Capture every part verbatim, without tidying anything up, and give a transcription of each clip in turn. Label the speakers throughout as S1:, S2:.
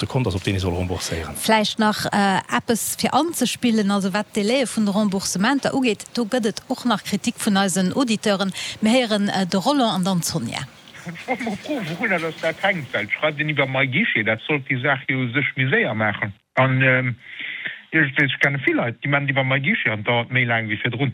S1: De Kont ass, op deen ee soll rembourséieren.
S2: Vläicht nach eppes fir anzespillen, also wat d'Délaië vun de Remboursementer ugeet, do gëtt et och nach Kritik vun eisen Auditeuren. Mir héieren de Roland an dann d'Sonja.
S3: Ech wollt mol froen, wourunner dass dat hänkt, well et schreift een iwwer MyGuichet, dat sollt déi Saach jo u sech méi séier maachen. An iergendwéi, ech kenne vill Leit, déi maachen et iwwer MyGuichet an et dauert méi laang wéi virdrun.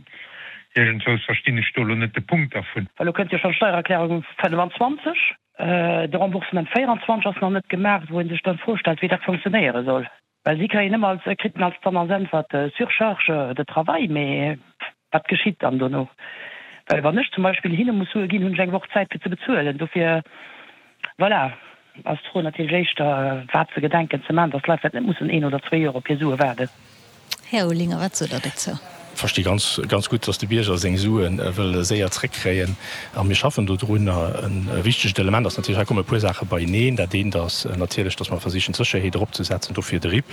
S3: Iergendwous verstinn ech do elo net de Punkt dervun.
S4: Well elo kënnt jo schonn d'Steiererklärung fënnefenzwanzeg, de Remboursement véierundzwanzeg ass nach net gemaach, wou ee sech dann d'Fro stellt, wéi dat funktionéiere soll. Well si kréien ëmmer als, kriten als dann als Äntwert Surcharge de travail, mee wat geschitt dann dono? Well wann ech zum Beispill hinne muss Sue ginn, hunn ech eng Woch Zäit fir ze bezuelen. Dofir, voilà, ass d'Fro natierlech éischter, wat se gedenken ze maachen, dass d'Leit vläicht net mussen een oder zwee Joer op hir Sue waarden.
S2: Här Olinger, wat sot Der dozou?
S1: Versti ganz, ganz gutt, dass de Bierger seng Sue wëll séier zréckkréien a mir schaffen dodrunner. E wichtegt Element ass natierlech, hei komme e puer Saache beieneen. Dat eent ass natierlech, dass mer versichen, d'Sécherheet eropzesetzen, dofir de RIP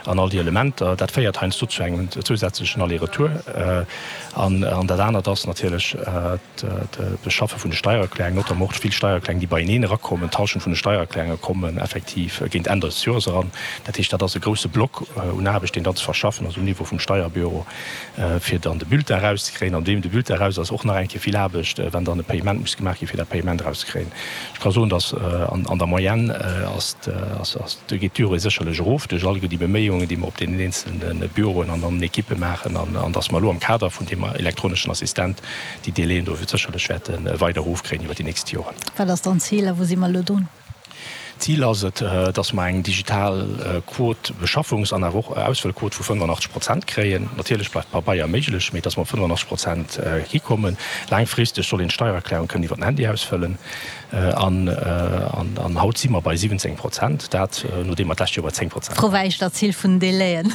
S1: an all déi Elementer. Dat féiert heiansdo zu engem zousätzlechen Aller-retour. An dat anert ass natierlech d'Beschaffe vun de Steiererklärungen, notamment och vill Steiererklärungen, déi beieneen erakommen. D'Hallschent vun de Steiererklärunge kommen effektiv géint Enn des Joers eran. Dat heescht, dat ass e grouse Block un Aarbecht, deen dann ze verschaffen ass um Niveau vum Steierbüro, fir dann de Bulletin erauszekréien. An deem de Bulletin eraus ass, och nach eng Kéier vill Aarbecht, wann dann e Payement muss gemaach ginn, fir dat Payement erauszekréien. Ech ka soen, dass an der Moyenne ass, do geet d'Durée sécherlech erof duerch alleguer déi Beméiungen, déi mer op deenen eenzelne Büroen an an den Ekippe maachen, an dass mer elo am Kader vun deem elektroneschen Assistent déi Délaiën do sécherlech wäerte weider erofkréien iwwert déi nächst Joren.
S2: Wat ass dann d'Zil a wou si mer elo drun?
S1: D'Zil ass et, dass mer eng digital Quot, Beschaffungs an awer och Ausfëllquot vu fënnefenachtzeg Prozent kréien. Natierlech bleift Pabeier méiglech, mee dass mer op fënnefenachtzeg Prozent hikommen. Laangfristeg soll een d'Steiererklärung kënnen iwwer den Handy ausfëllen. An haut si mer bei siwwenzéng Prozent, dat nodeem mer d'lescht Joer bei zéng Prozent
S2: Fro war éischter d'Zil vun den Délaiën.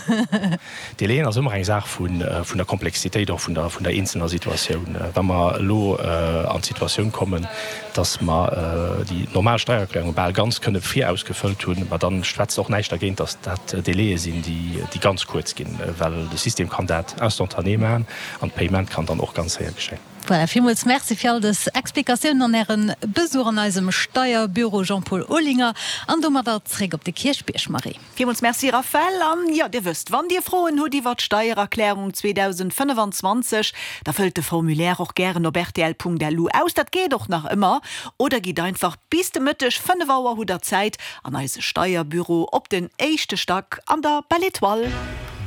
S1: Délaiën ass ëmmer eng Saach vun der Komplexitéit och vun der eenzelner Situatioun. Wa mer elo an d'Situatioun kommen, dass mer déi normal Steiererklärung bal ganz kënne virausgefëllt hunn, ma dann schwätzt och näischt dergéint, dass dat Délaië sinn, déi ganz kuerz ginn, well de System kann dat instantané maachen an d'Payement kann dann och ganz séier geschéien.
S2: Voilà, villmools Merci fir all dës Explikatiounen an Äre Besuch an eisem Steierbüro, Jean-Paul Olinger. An domadder zréck op de Kierchbierg, Marie.
S5: Villmools Merci, Raphaëlle. An jo, Dir wësst, wann Dir Froen hutt iwwert d'Steiererklärung zweedausendfënnefenzwanzeg, da fëllt de Formulaire och gären op rtl.lu aus, dat geet och nach ëmmer. Oder gitt einfach bis de Mëtteg fënnef Auer, hutt der Zäit, an eise Steierbüro op den éischte Stack an der Belle Etoile.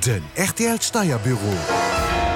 S6: Den rtl Steierbüro.